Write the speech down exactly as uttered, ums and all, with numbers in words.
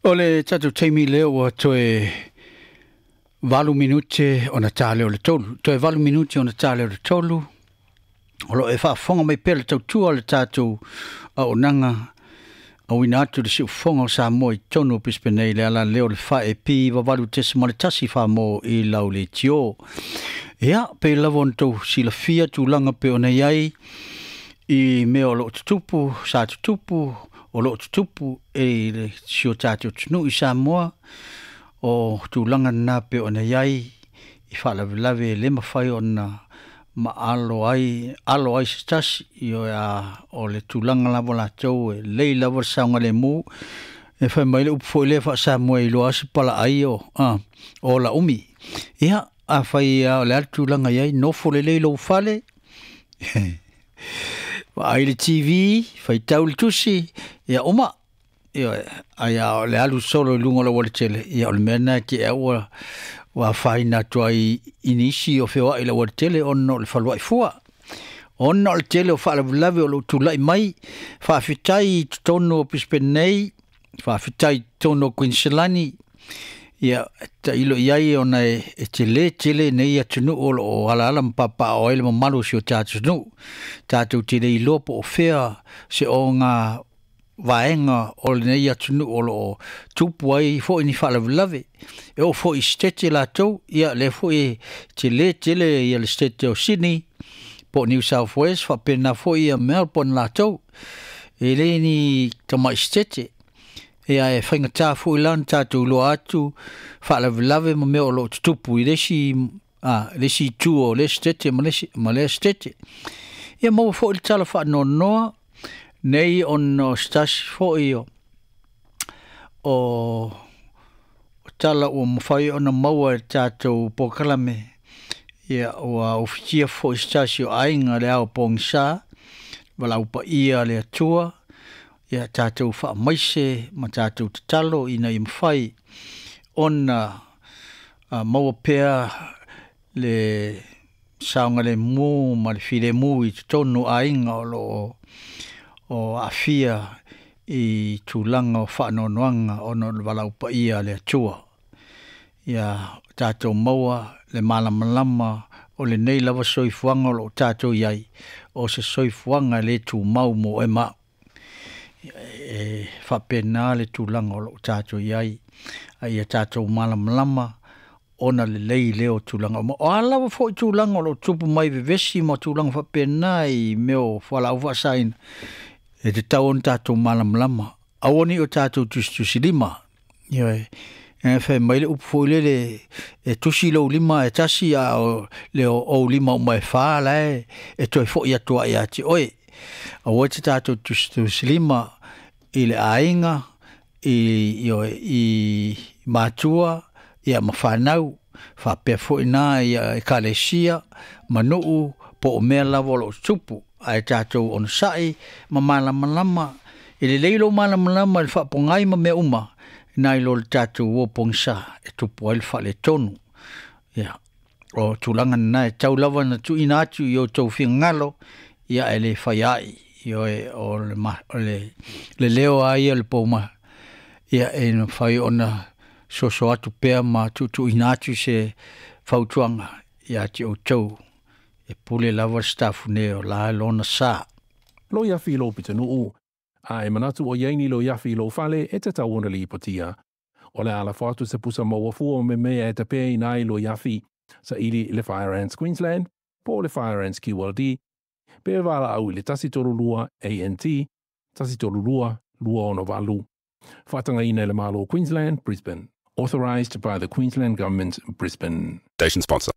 O le tatou taimi lea ua toe valu minute ona ta lea o le tolu. Toe valu minute ona ta lea o le tolu. O lo o e faafofoga mai pea le tautua o le tatou auaunaga auina atu le siufofoga o Samoa i totonu o Brisbane nei le ala lea o le fa E P valu tesima le tasi Samoa i lau leitio. Ia, pei lava ona tou silafia tulaga pei ona i ai i mea o lo o tutupu, sa tutupu, o lo o tutupu e le si o tatou atunuu i Samoa, o tulaga na pei ona i ai i faalavelave e le mafai ona maalo ai alo ai se tasi ioe a o le tulaga lava latou e lelei lava le saogalemu e fai mai le upu foi lea faa-Samoa e iloa se palaai o a o la umi. Ia afai o le a le tulaga i ai nofo lelei lou fale vaai le T V, faitau le tusi, ia uma. Ioe, ai a o le alu solo i luga o le aualatele, ia o le mea lena e te ua ua afaina atu ai i nisi o feoai i le aualatele ona o le faluai fua. Ona o le tele o faalavelave o lo o tulai mai, faafetai i totonu o Brisbane nei, faafetai i totonu o Queensland, ia tailo i ai ona e, e tele tele nei atunuu o lo o alaala ma papaaao ai le mamalu o si o tatou atunuu. Tatou te le iloa po o fea se oga vaega o lenei atunuu o lo o tupu ai foi ni faalavelave. E oo foi i sitete latou, ia lea foi e tele tele ia le sitete o Sydney po o New South Wales faapena foi ia Melbourne latou. E le ni tamai sitete. Ia e faigata foi la ona tatou iloa atu faalavelave ma mea o lo o tutupu i le isi a le isi itu o le sitete ma le isi ma lea sitete. Ia maua foi le tala faanoanoa nei ona o se tasi foi o o o tala ua mafai ona maua e le tatou polokalame ia ua ufitia foi se tasi o aiga le ao pogisa valaau paia a le Atua ia tatou faamaise ma tatou tatalo ina ia mafai ona maua pea le saogalemu ma le filemu i totonu o aiga o lo o o aafia i tulaga o faanoanoaga ona o le valaau paia a le Atua. Ia tatou maua le malamalama o lenei lava soifuaga o lo o tatou i ai, o se soifuaga e le tumau mo oe ma au. E faapena le tulaga o lo o tatou i ai, a ia tatou malamalama ona lelei lea o tulaga uma. O a lava foi tulaga o lo o tupu mai vevesi ma tulaga faapena i mea o fualaau faasaina, e tatau ona tatou malamalama. Aua ne i o tatou tusitusilima. Ioe, e fai mai le upu foi lele e tusi lou lima e tasi a o le ou lima uma e fa la e, e toe foi atu ai ia te oe. Aua te tatou tusitusilima i le aiga, i, ioe, i matua, ia ma fanau, faapea foi na ia ekalesia, ma nuu, po o mea lava o lo o tupu, ae tatou onosai ma malamalama, e lelei lou malamalama i le faapogai ma mea uma, nai lo le tatou o pogisa e tupu ai le faaletonu. Ia, o tulaga lena e tau lava na tuuina atu i outou finagalo, ia e le fai ai, ioe, o le, ma, o le, le leo a ia le pouma, ia e mafai ona soso atu pea ma tuutuuina atu se fautuaga ia te outou e pule lava le sitafune o la lona sa. Loi afi i lou pitonuu, a e manatu o i ai ni loi afi i lou fale e tatau ona lipotia. O le a lafo atu se pusa maua fua me mea e tapeina ai loi afi, saili i le Fire Ants Queensland, po o le Fire Ants Q L D, pe valaau i le tasi tolu lua A N T, tasi tolu lua, lua ono valu. Faatagaina e le Malo o Queensland, Brisbane. Authorised by the Queensland Government, Brisbane. Station sponsor.